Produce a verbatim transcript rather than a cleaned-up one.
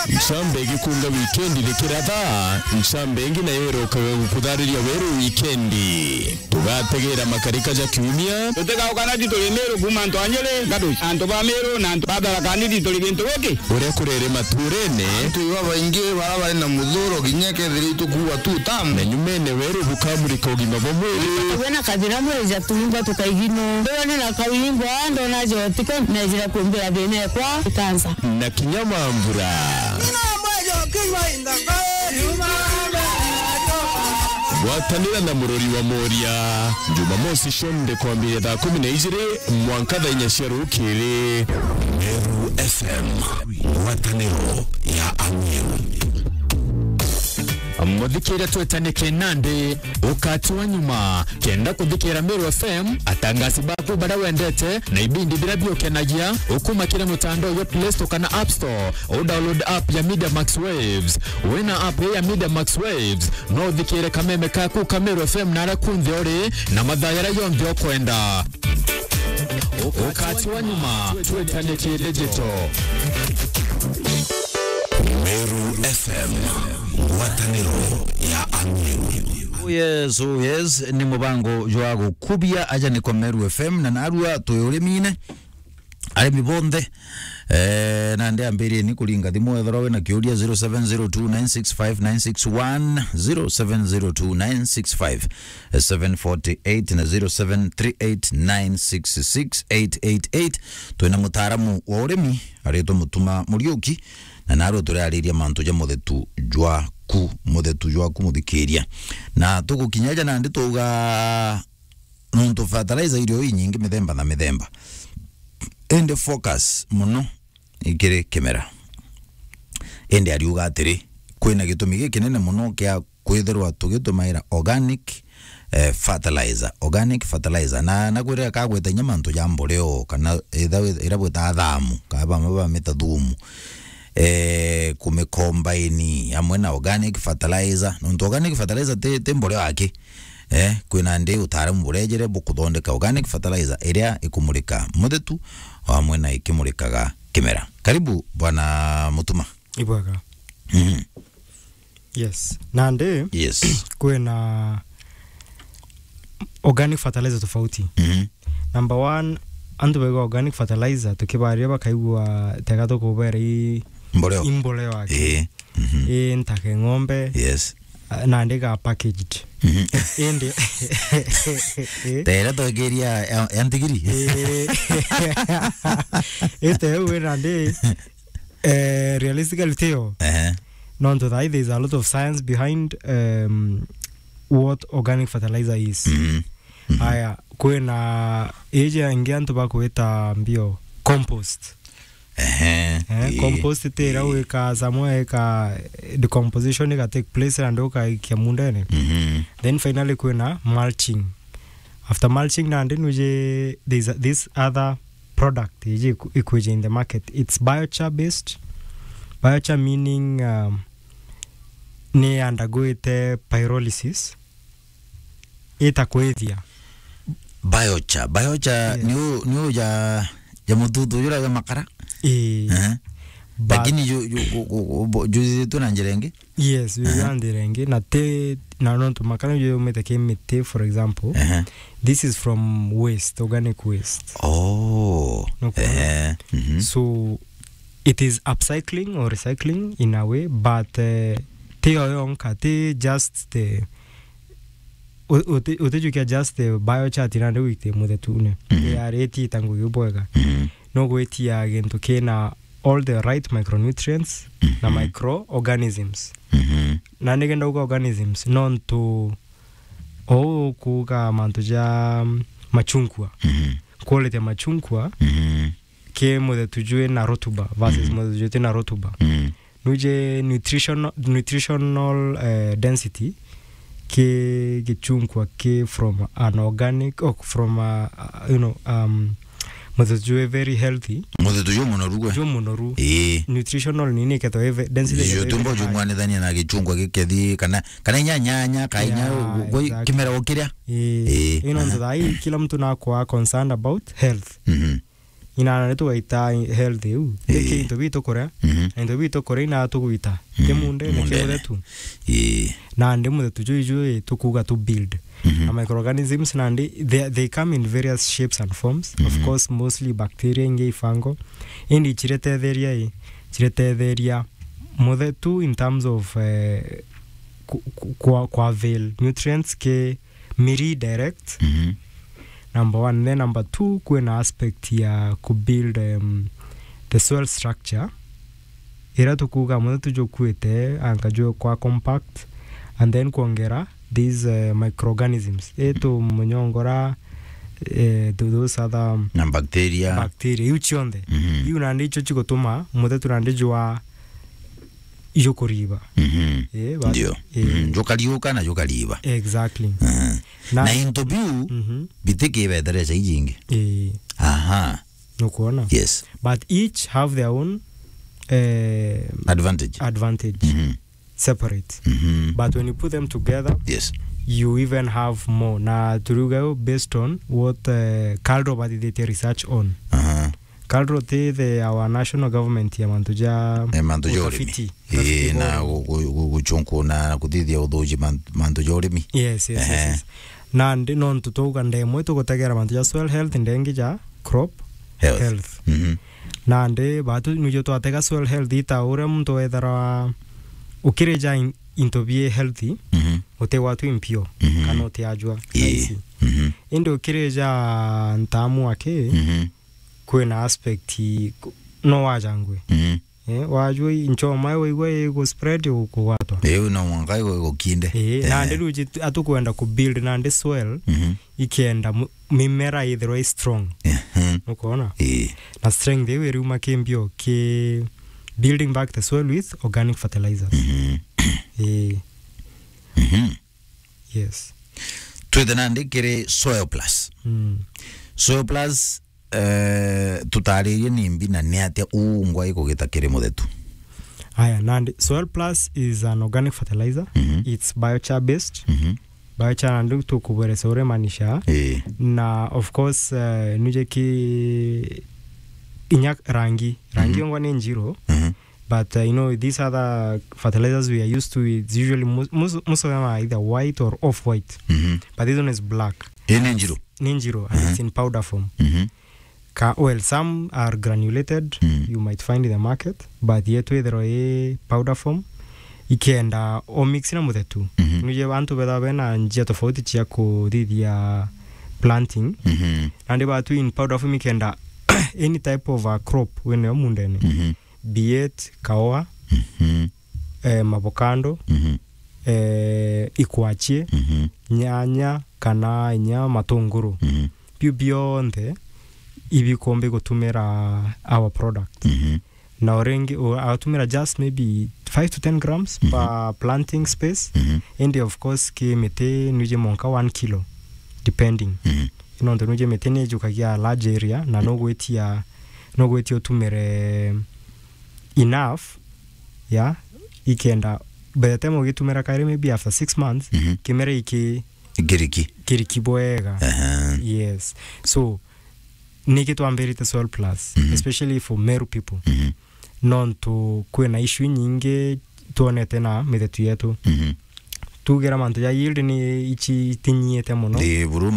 Ncamba igikunga wikendi rikiratha, ncamba ingi nayo irokaga gukuthariria weru wikendi. Tugategera makarika ja kiumia. Tutigauka na tituri Meru kuuma antu a Nyeri, Gaduci, antu ba Meru na antu ba Tharaka Nithi turi gintu giki. Uria kurere maturene. Antu iba baingi bara bari na muthuro kinya kethira itukuwa tu tamu. Na nyumene weru bukamurika ugima bwa mwiri. Wena kathina mwiri ja tuimba tukaigino. Ndona na kawimbo, ndona jotiko, nejira kumbira thina ekwa ikansa. Na kinya mambura. Gwatanira na murori wa Moria, Jumamosi cionthe kwambiria thaa kumi na ijiri mwanka thaa inya cia rukiri. Meru F M, ngwataniro ya Ameru. Muthikiria, twetanikie nandi ukati wa nyuma. Kenda kuthikira Meru F M, atangasi baku baria wendete na ibindi biria biukenagia, ukuma kiri mutandao jwa Play Store kana App Store, u download app ya Media Max Waves. Wina app ya Media Max Waves, no uthikire kameme kaku ka Meru F M na aria kunthe uri na mathaa jaria jonthe ukwenda. Ukati wa nyuma, twetanikie digital. Meru F M, ngwataniro ya Ameru. Oh yes, oh yes, ni mubango jwa gukubia aja niko Meru F M, na narua twi urimine. Arimi bonthe, eh, nandi ambirieni kuringa thimu, ethirwa wina kiuria, zero seven zero two nine six five nine six one, zero seven zero two nine six five seven forty eight na zero seven three eight nine six six eight eight eight. Twina mutaaramu wa urimi aritwa Mutuma Muriuki, na narua turiariria mantu ja muthetu jwaku, muthetu jwaku muthikiria. Na tugukinya ja nandi twauga nontu fertilizer iri o inyingi mithemba na mithemba. Indi focus mono ikiri kimera. Indi ariuga atiri, kwina gitumi gikinene mono kia kwithirwa tugitumaira organic, eh, fertilizer, organic fertilizer. Na, na kwirira kagweta inya mantu ja mboreo, kana itha-, ira bwita thamu, kana bamwe bamita thumu, eh, kumikombaini amwe na organic fertilizer. Nontu organic fertilizer ti, ti mboreo aki. Eh, kwina ndi utaaramu burejere bukuthondeka organic fertilizer iria ikumurika muthetu, o amwe na ikimurikaga kimera. Karibu, Bwana Mutuma. Ibwega. Mhm. Yes. Nandi, yes, kwina organic fertilizer tofauti. Mhm. Number one, antu baiga organic fertilizer, tukibaria bakaigua tega tukubera i mboreo. I mboreo aki. Ii. Mhm. I ntake ng'ombe. Yes. Ah, nandi ga packaged. Mhm. Indi. Tera twekeria ya, ya ntigiri. Ii. Ite u nandi, eh, realistically tio. Ehe. Nontu thaa ii there is a lot of science behind, um, what organic fertilizer is. Mhm. Mhm. Aya, kwina iji ingi antu bakwita mbio compost. Ehe, eh, ii, compost ti iria ii. Wika samwe ika decomposition iga take place na ndio ukaikia mundene. Mhm. Then finally kwina mulching. After mulching nandi nuje, there's a, this other product iji iku-, ikwija in the market. It's biochar based. Biochar meaning, um, ni undergoite pyrolysis. Ita kwithia. Biochar. Biochar, yes, ni u-, ni u ja, ja mututu jura ja makara? Ii. Eh. But lakini ju-, ju-, gu-, gu-, gu-, jujithitue na njira ingi? Yes, ju-, aha, na njira ingi. Na ti, na nontu makara ju yumite ki miti, for example. Aha. This is from waste, organic waste. Oh. Nukwona? Eh. Mhm. So, it is upcycling or recycling in a way, but, eh, ti yo yonka, ti just the, u-, uti-, utijukia just the biochar ati nandi wite muthetune. Mhm. Yari itita ngugi bwega. Mhm. No gwitia gintu kina all the right micronutrients na, mhm, microorganisms. Mhm. Na nigenda uga organisms, nontu o kuga mantu ja, mm, machungwa. Mhm. Quality ya machungwa, mhm, ki muthetu jwi na rotuba versus, mhm, muthetu jwi ti na rotuba. Mhm. Nuje nutritional, nutritional, eh, density ki gichungwa ki from an organic, or from a, a, you know, um, muthetu jwi very healthy. Muthetu jwi munoru gwe? Jwi munoru. Ii. Nutritional nini ikethwa ive-, density ikethwa ive high. Jung'wanithania na gichungwa gikethi kana, kana inya nyanya, ka inya, yeah, gwe, exactly, kimera ukiria. Ii. Ii. Ino, aha, ntu thaa ii kila mtu nakwa concerned about health. Mhm. Ina nandi tugaita health iu. Ii. Iki into bitu kuria, mhm, na into bitu kuria ina tugwita. Ti, mhm, mundene, ki mundene. Muthetu. Ii. Nandi muthetu juu juu, ii, tukuga tu build. Mhm. Na microorganisms nandi, they, they come in various shapes and forms. Of, mhm, course, mostly bacteria, ingi i fungal. Indi chiretetheria, ii, chiretetheria muthetu in terms of, eh, ku-, ku-, kwa, kwa avail nutrients ki miri direct. Mhm. Number one. Then number two, kwina aspect ya ku build, um, the soil structure. Ira tukuga muthetu jukuite, anga jukwa compact, and then kwongera these, uh, microorganisms. Ii tumunyongora, eh, tho-, those other, um, na bacteria. Bacteria, iu cionthe. Mhm. Iu nandi icio cigutuma muthetu nandi jwa jukuriba. Mhm. Eh, but, ndio. Eh. Mhm. Jukariuka na jukariba. Exactly. Mhm. Na, na into biu, mhm, bitikibethereca ijingi. Eh. Aha. Nukwona? Yes. But each have their own, eh, advantage. Advantage. Mhm. Separate. Mhm. But when you put them together, yes, you even have more. Na turiuga yo based on what, eh, KALRO bathithitie research on. Aha. KALRO ti the, our national government ya mantu ja, eh, mantu ja urimi. Utafiti. Ii, utafiti na bora. Gu-, gu-, gu-, guchunkuna na kuthithia uthuji man-, mantu ja urimi. Yes, yes, yes, ehe, yes. Nandi nontu twauga ndemwe tugutegera mantu ja soil health, ndengi ja crop health. Health. Mhm. Nandi batu nujo twatega soil health ita uria muntu wethera ukirija in-, into bie healthy, mhm, utigwatwa impio, mhm, kana utiajwa. Ii. Rahisi. Mhm. Indi ukirija ntamu aki, mhm, kwina aspect ku-, no wajangwe. Mhm. Eh, wajwa i nchoma waigua igu spread ukugwatwa. Iu no mwanka igu igukinde. Eh, ehe, nandi riu ji-, atukwenda ku build nandi soil, mhm, ikenda mu-, mimera ithirwa i strong. Ehe. Nukwona? Ii. Na strength iu iriuma ki mbio ki building back the soil with organic fertilizers. Mhm. Ii. Mhm. Yes. Twithe nandi kiri Soil Plus. Mm. Soil Plus, eh, tutaririe ni mbi na ni atia ungwa ikugita kiri muthetu? Aya, nandi Soil Plus is an organic fertilizer. Mhm. It's biochar based. Mhm. Biochar nandi tukubweresa uria imaanisha. Ii. Na of course, eh, nuje ki inya rangi. Rangi, mhm, ongwa ni njiro. Mhm. But, uh, you know, these other fertilizers we are used to, it's usually mus-, mus-, most of them are either white or off-white. Mhm. But this one is black. Ii ni njiro? Ni njiro, and, mhm, it's in powder form. Mhm. Ka, well, some are granulated, mm, you might find in the market, but yetu ithirwa i powder form, ikenda o mix na muthetu. Mhm. Nuje bantu betha bena njia tofauti cia kuthithia planting. Mhm. Nandi batu in powder form ikenda any type of a crop winayo mundene. Mhm. Be it kaoa, mhm, eh, mavokando, mhm, eh, ikwachie, mhm, nyanya, kana inya matunguru. Mhm. Biu bionthe ibikumbi gutumira our product. Mhm. Na uringi, u-, atumira just maybe five to ten grams, mhm, per planting space. Mhm. Indi of course, ki miti nuje monka one kilo, depending. Mhm. Nontu nuje miti ni ijukagia large area, na nugwitia, nugwitia utumire enough, ya, ikenda, by the time ugitumira kairi, maybe after six months, mhm, kimera iki-, kiriki, kiriki bwega. Aha. Yes. So, niki twambirite Soil Plus, mhm, especially for Meru people? Mhm. Nontu kwina issue nyingi twonete na mithetu yetu. Mhm. Tugira mantu ja yield ni ici tinyiite mono. Ndi buru